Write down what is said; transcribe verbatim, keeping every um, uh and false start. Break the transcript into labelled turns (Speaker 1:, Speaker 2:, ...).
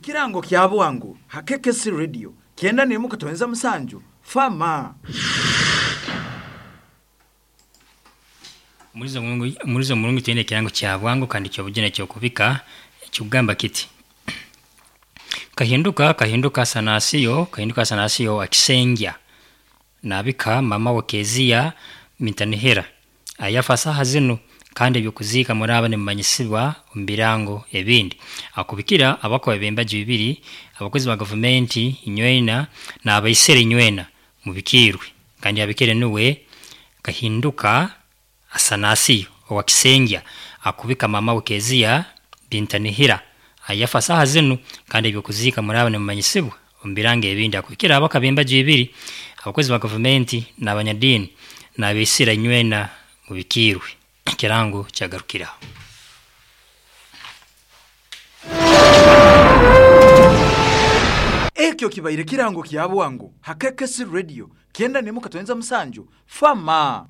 Speaker 1: Ekirango kya bwangu ha K K C Radio kyenda n'emu katonza musanju fama.
Speaker 2: Mulizo mulungu mulizo mulungu twine ekirango kya bwangu kandi kyobujune kyokubika ekikugamba kiti Kahinduka Kahinduka Sanasiyo Kahinduka Sanasiyo akisengya nabika mama we Kezia Mintanihira ayafa saha zinu kandi ebyokuziika muraba nimumanyisibwa omu birango ebindi. Akubikira abakoba b'embaju ibiri, abakozi ba gavumenti inywena n'abaisere inywena mubikiirwe, kandi abikire nuwe Kahinduka Asanasiyo owa Kisengya akubika mama we Kezia Bintanihira ayafa saha zinu kandi ebyokuziika muraba nimumanyisibwa omu birango ebindi. Akubikira abaka b'embaju ibiri, abakozi ba gavumenti n'abanyadiini n'abaisira inywena mubikiirwe. Ekirango kyagarukiraho.
Speaker 1: Ekyo kibaire kirango kya bwangu ha K K C Radio kyenda n'emu katonza musanju fama.